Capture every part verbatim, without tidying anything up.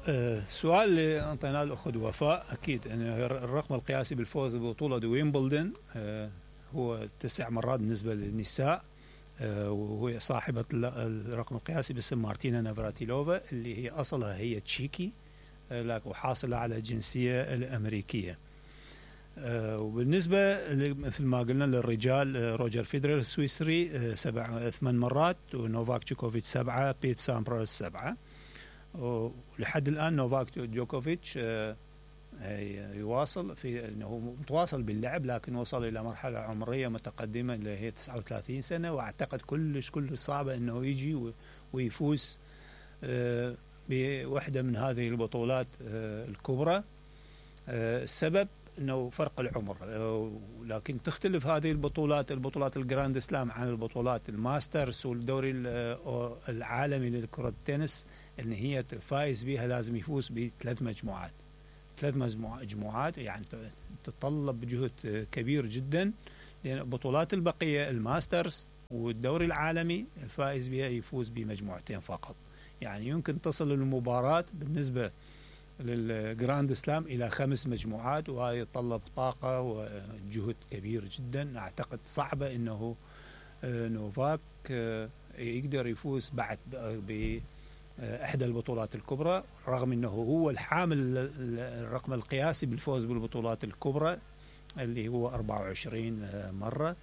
السؤال اللي انطيناه الاخت وفاء، اكيد ان الرقم القياسي بالفوز ببطوله ويمبلدون هو تسع مرات بالنسبه للنساء، وهو صاحبه الرقم القياسي باسم مارتينا نافراتيلوفا اللي هي اصلها هي تشيكي لكن وحاصله على الجنسيه الامريكيه. وبالنسبه مثل ما قلنا للرجال، روجر فيدرر السويسري سبع ثمان مرات، ونوفاك جوكوفيتش سبعه، بيت سامبراس سبعه. ولحد الان نوفاك جوكوفيتش يواصل في انه متواصل باللعب، لكن وصل الى مرحله عمريه متقدمه اللي هي تسعة وثلاثين سنه، واعتقد كلش كلش صعبه انه يجي ويفوز بوحده من هذه البطولات الكبرى. السبب انه فرق العمر، لكن تختلف هذه البطولات البطولات الجراند سلام عن البطولات الماسترز والدوري العالمي لكرة التنس، ان هي فايز بها لازم يفوز بثلاث مجموعات ثلاث مجموعات يعني تتطلب جهد كبير جدا، لان بطولات البقيه الماسترز والدوري العالمي الفائز بها يفوز بمجموعتين فقط. يعني يمكن تصل المباراة بالنسبه للجراند سلام الى خمس مجموعات، وهذا يتطلب طاقه وجهد كبير جدا. اعتقد صعبه انه نوفاك يقدر يفوز بعد باحدى البطولات الكبرى، رغم انه هو الحامل الرقم القياسي بالفوز بالبطولات الكبرى اللي هو أربعة وعشرين مره.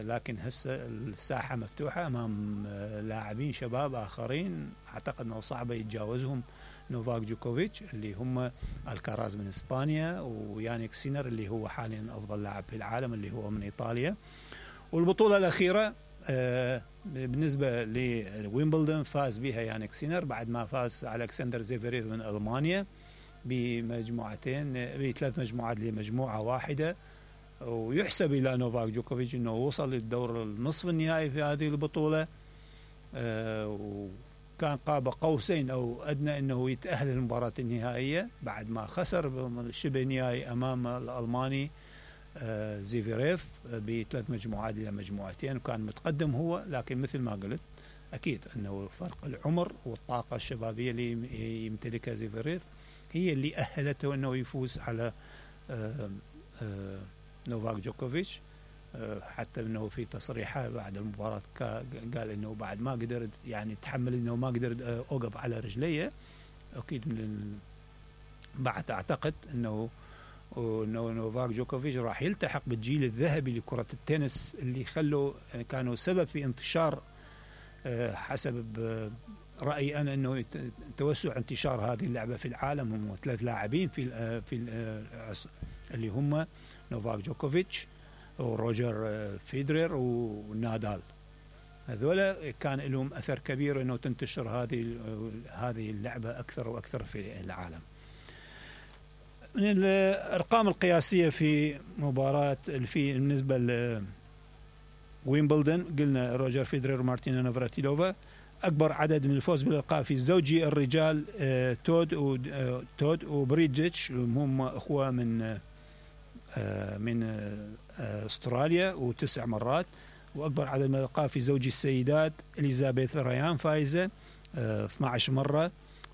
لكن هسه الساحه مفتوحه امام لاعبين شباب اخرين، اعتقد انه صعبه يتجاوزهم نوفاك جوكوفيتش اللي هم الكاراز من اسبانيا، ويانيك سينر اللي هو حاليا افضل لاعب في العالم اللي هو من ايطاليا. والبطوله الاخيره بالنسبه لويمبلدون فاز بها يانيك سينر بعد ما فاز الكسندر زيفيريف من المانيا بمجموعتين بثلاث مجموعات لمجموعه واحده. ويحسب الى نوفاك جوكوفيتش انه وصل للدور النصف النهائي في هذه البطوله، كان قاب قوسين أو أدنى أنه يتأهل للمباراة النهائية بعد ما خسر شبه نهائي أمام الألماني زيفيريف بثلاث مجموعات إلى مجموعتين، وكان متقدم هو. لكن مثل ما قلت أكيد أنه فرق العمر والطاقة الشبابية اللي يمتلكها زيفيريف هي اللي أهلته أنه يفوز على نوفاك جوكوفيتش. حتى انه في تصريحه بعد المباراه قال انه بعد ما قدرت يعني تحمل انه ما قدرت اوقف على رجليه. اكيد من بعد اعتقد انه انه نوفاك جوكوفيتش راح يلتحق بالجيل الذهبي لكره التنس اللي خلوا كانوا سبب في انتشار، حسب رايي انا، انه توسع انتشار هذه اللعبه في العالم. هم ثلاث لاعبين في في اللي هم نوفاك جوكوفيتش وروجر فيدرر ونادال. هذولا كان لهم اثر كبير انه تنتشر هذه هذه اللعبه اكثر واكثر في العالم. من الارقام القياسيه في مباراه في بالنسبه لويمبلدون قلنا روجر فيدرر ومارتينا نافراتيلوفا. اكبر عدد من الفوز بالالقاب في الزوجي الرجال تود وتود وبريدجيتش، هم اخوه من من استراليا، وتسع مرات. واكبر عدد من الالقاب في زوجي السيدات اليزابيث ريان فايزه اثنتي عشرة مره.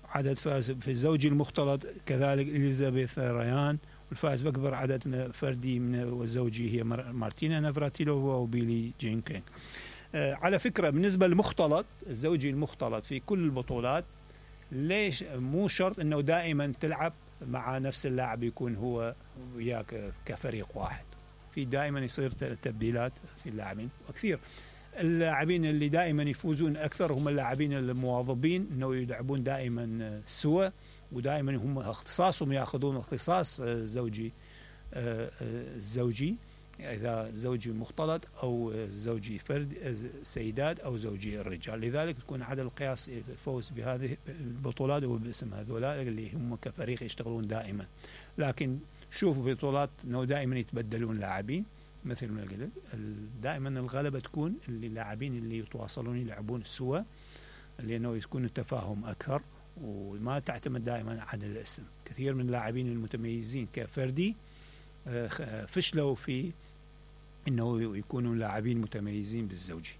عدد فاز في الزوجي المختلط كذلك اليزابيث ريان، والفائز باكبر عدد فردي من الزوجي هي مارتينا نافراتيلوفا وبيلي جين كينغ. على فكره بالنسبه للمختلط الزوجي المختلط في كل البطولات، ليش مو شرط انه دائما تلعب مع نفس اللاعب يكون هو وياك كفريق واحد، في دائما يصير تبديلات في اللاعبين. وكثير اللاعبين اللي دائما يفوزون اكثر هم اللاعبين المواظبين انه يلعبون دائما سوا، ودائما هم اختصاصهم ياخذون اختصاص زوجي الزوجي، اذا زوجي مختلط او زوجي فرد سيدات او زوجي الرجال. لذلك تكون عدد القياس الفوز بهذه البطولات هو باسم هذولا اللي هم كفريق يشتغلون دائما. لكن شوفوا بطولات انه دائما يتبدلون لاعبين، مثل ما قلت دائما الغلبه تكون اللي اللاعبين اللي يتواصلون يلعبون سوا، لانه يكون التفاهم اكثر وما تعتمد دائما على الاسم. كثير من اللاعبين المتميزين كفردي فشلوا في انه يكونوا لاعبين متميزين بالزوجي.